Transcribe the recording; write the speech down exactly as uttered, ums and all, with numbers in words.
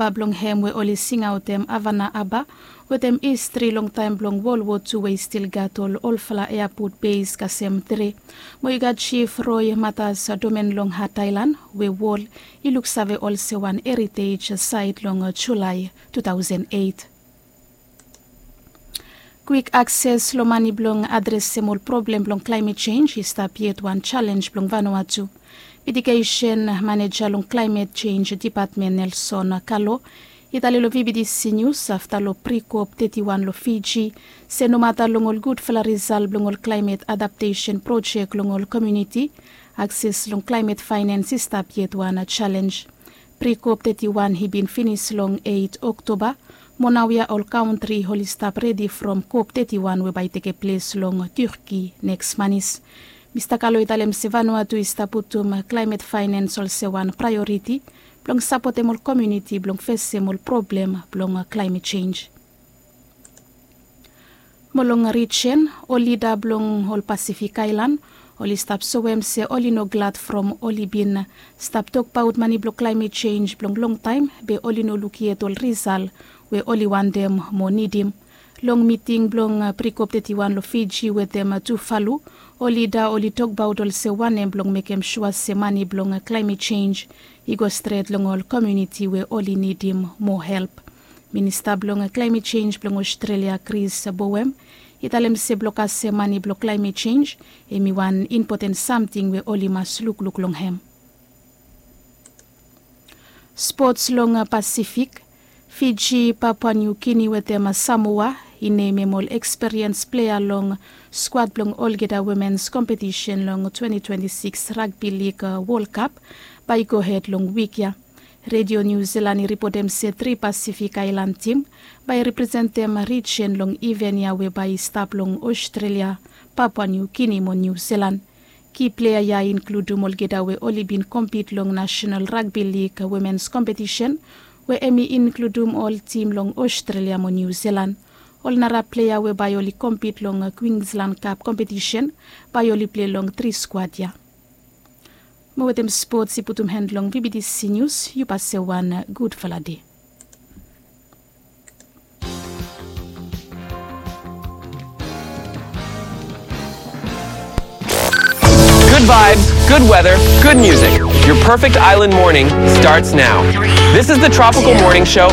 Aba blong hem we oli singaotem Havana Aba wetem histri long taem blong Wol Wo Tu we i stil gat ol olfala eapot beis kasem tre. Mo i gat Jif Roi Matas Domen long Hat Aelan we wol i luksave olsem wan heritej saet long Julae tu taosen eit. Kwik akses long mane blong adresem ol problem blong klaemet jenj i stap yet wan jalenj blong Vanuatu. Mitigesen maneja long klaemet jenj dipatmen Nelson Kalo i talem long VBTC Nius afta long Pre-COP teti wan long Fiji se nomata long ol gudfala risal blong ol klaemet adaptesen projek long ol komuniti, akses long klaemet faenens i stap yet wan jalenj. Pre-COP teti wan i bin finis long eit Oktoba, mo naoia ol kantri oli stap redi from COP teti wan we bae i tekeples long Turkey neks manis. Mista Kalo i talem se Vanuatu i stap putum klaemet faenens olsem wan praeoriti blong sapotem ol komuniti blong fesem ol problem blong klaemet jenj. Mo long rijen, ol lida blong ol Pasifik aelan oli stap soem se oli no glad from oli bin stap tokbaot mane blong klaemet jenj blong longtaem be oli no luk yet ol risal we oli wantem mo nidim. Long miting blong Pre-COP teti wan long Fiji wetem Tuvalu, ol lida oli tokbaot olsem wanem blong mekem sua se mane blong klaemet jenj i go stret long ol komuniti we oli nidim moa help. Minista blong klaemet jenj blong Ostrelia, Chris Bowen, i talem se blong kasem mane blong klaemet jenj hemi wan impoten samting we oli mas lukluk long hem. Spots long Pasifik, Fiji, Papua New Guinea wetem Samoa i nemem ol eksperiens plea long skuad blong olgeta womens kompetisen long twenti twenti sikis Ragbi Lig Wol Kap bae i gohed long wik ya. Redio Niu Silan i ripotem se tri Pasifik aelan tim bae i representem rijen long iven ya we bae i stap long Ostrelia, Papua Niu Guinea mo Niu Silan. Ki plea ya i inkludum olgeta we oli bin kompit long Nasenal Ragbi Lig Womens Kompetisen we hemi inkludum ol tim long Ostrelia mo Niu Silan. Ol nara plea we bae oli kompit long Kwinslan Kap kompetisen bae oli plea long tri skuad ya. Mo wetem spots i putum hen long VBTC Nius, yu pase wan gudfala dei. Good vibes, good weather, good music. Your perfect island morning starts now. This is the Tropical Morning Show